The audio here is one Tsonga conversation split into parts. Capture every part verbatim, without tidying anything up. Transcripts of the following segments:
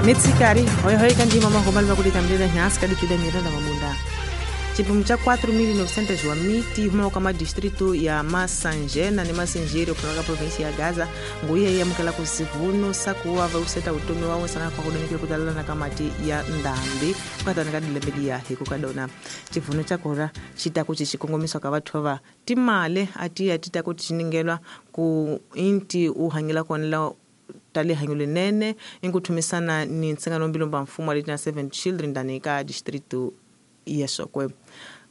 Mitsikari hoihoyi kandima mahomali vakulitambilila nhansi kadicuda miranda mabunda chipimo cha quatro mil e novecentos wa miti huma ka madistrito ya Massangena ni Massingiri kutoka província ya Gaza nguiya yamukela ku sivuno sakuwa va useta utomi wa wosana kwa kudonikile kutalala na kamati ya ndambi kukatana ka dilembe ya hiku kadona chivuno cha kora chitaku chichikongomiswa ka vathu va timale atiya titaku tichiningelwa ku inti uhangela konela tali hanyule nene inkuthumisana ni ntsingano mbilomba mfumo wa seven children ndani ka distrito ya Shokwe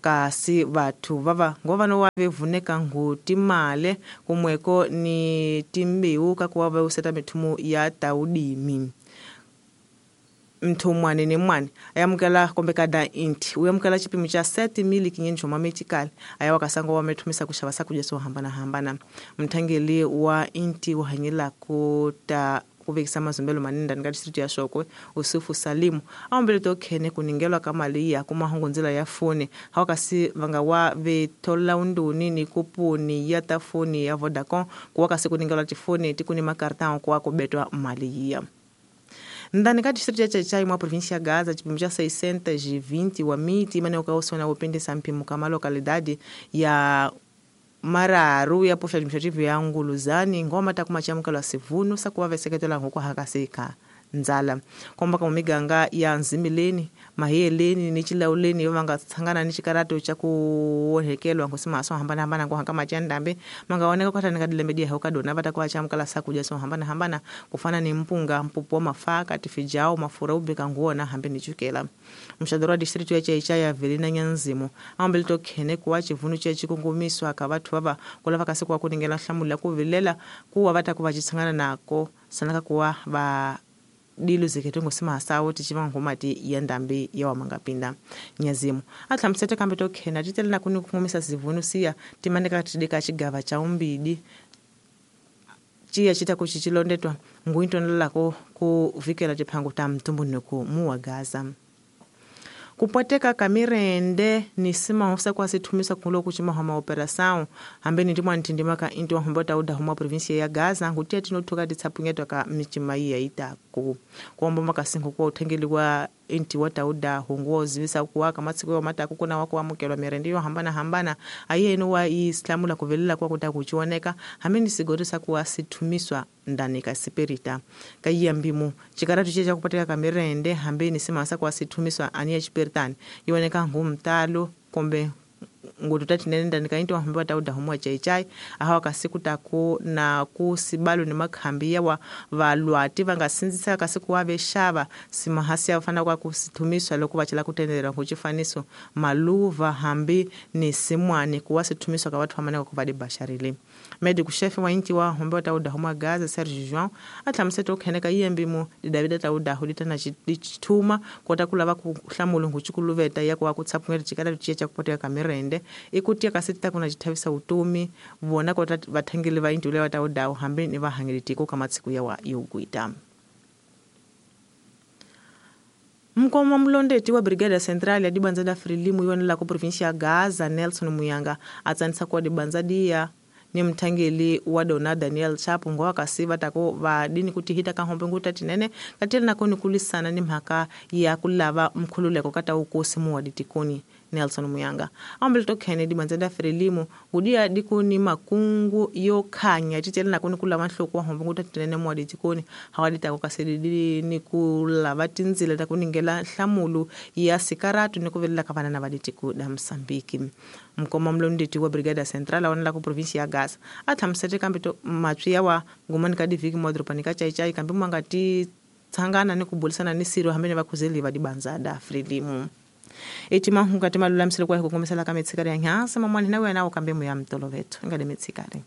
kasi vathu vava ngovano wa vevuneka ngu timale kumweko ni timbewu kakuwa va useta mithumu ya taudimi mthu mwane ni mwane ayamukela kombe kada inti uyamukela chipimo cha sete mil quinhentos mametikali ayawakasango wamethumisa kuxava sakudya swo hambanahambana mthangeli wa inti uhanyela kuta kuvekisa mazumbelo manene ndani ka distrito ya Shokwe Usufu Salimu aombele to khene kuningelwa ka mali ya kumahungu ndzila ya foni hawakasi vanga wa vethola unduni ni kupuni ya ta foni ya Vodacom kuwakasi kuningelwa tifoni tikuni makartão kuwa kubetwa mali ya ndani ka distrito ya Chachai mwa província ya Gaza chipimo cha seiscentos e vinte wa miti imane ukausona upendesa mpimo kama localidade ya Mararu ya posto administrativo ya Nguluzani ngoma takumachamukela sivuno sakuwa veseketela ngoko hakaseka nzala komba kama miganga ya Nzimileni Mahiyeleni ni Chilauleni vanga tsangana ni chikarato cha kuonhekelwa ngosima so hambana hambana ngo hanga machandambe mangaoneka kwatana kadilembe dia hokadona vatakuwa chamukala sakuja so hambana hambana kufana ni mpunga mpupo mafaka tifijao mafura ubeka nguona hambe ni chukela mshadoro wa distrito ya Chaichai ya Velina Nyanzimu ambele to khene kuwa chivuno che chikungumiswa ka vathu vava kulava kasi kuwa kuningela hlamula kuvilela kuwa vatakuva chitsangana nako sanaka kuwa va dilo zikhetho ngosima sawo tichiva ngomati ya ndambi ya wamangapinda nyazimu athlamusete kambe to khena titele na kuni kungumisa zivuno siya timaneka tidika chigava cha umbidi chiya chita kuchichilondetwa nguintonelako kuvikela tiphango ta mtumbunuku muwa Gaza kupwateka kamirende ni sima kwa sithumisa kulo kuchima homa operação hambe ni ndimwa ntindima ka inti wahomba tauda homa província ya Gaza ngutiya tinothuka titsapunyetwa ka michima iya itaku kuomba makasingo kwa uthengeli wa inti wa tauda hunguo zivisa kuwaka matsiko ya mataku kuna wako wamukelwa mirende yo hambana hambana ayeno wa islamu la kuvelela kwa kuta kuchioneka hambe ni sigorisa kuwa sithumiswa ndani ka sipirita ka yambimu chikaratu che kupateka kamirende hambe ni simasa kwa sithumiswa aniya chipiritani yoneka ngumtalo kombe ngututa tinene ndani ka inti wahomba tauda humwa chaichai ahawa kasiku taku na kusibalo ni makhambi yawa valwati vangasinzisa kasiku wavexava simahasi ya fana kwa kusithumiswa loko vachela kutendera kuchifaniso maluva hambi ni simwani kuwa sithumiswa ka vathu vamaneka ku va dibasharile medico chef wa inti wa homba tauda humwa Gaza Serge João athlamusete ukheneka yembimu didavida tauda hulita na chithuma kota kulava ku hlamula nguchikuluveta ya kuwa kutsapungela chikala chiya cha kupoteka kamirende ikutia kasita kuna chithavisa utomi vona kota vathangeli va inti lewa taudawo hambi ni vahangeli tiko ka matsiku yawa yokuita mkoma mlondeti wa brigada central ya dibanza da Frelimu yonela ku província ya Gaza Nelson Muyanga atsanisa kwa dibanza dia ni mthangeli wa dona Daniel Chapo ngowa kasiva tako vadini kuti hita kahombe nguta tinene katele nakoni kulisana ni mhaka ya kulava mkhululeko kata ukosi muwa ditikoni Nelson Muyanga ambele to Kennedy banzenda Frelimu ngudia dikuni makungu yo khanya titele nakoni kulava nhloko wa hombe nguta tinene muwa ditikoni hawadita kasedidi ni kulava tinzila takuningela hlamulu ya sikaratu ni kuvelela kavana na vaditiku da Msambiki mkoma mlondeti wa brigada central aonela ku província ya Gaza athlamusete kambe to matswi yawa ngumani ka diviki modropani ka chaichai kambe mwangati tsangana ni kubulisana ni siro hambe ni vakhuzeli va dibanza da Frelimu eti mahunga timalulamisele kwa hikukomisela ka mitshikari ya nhansi mamwani na wena ukambe muya mtolovetho ingade mitshikari.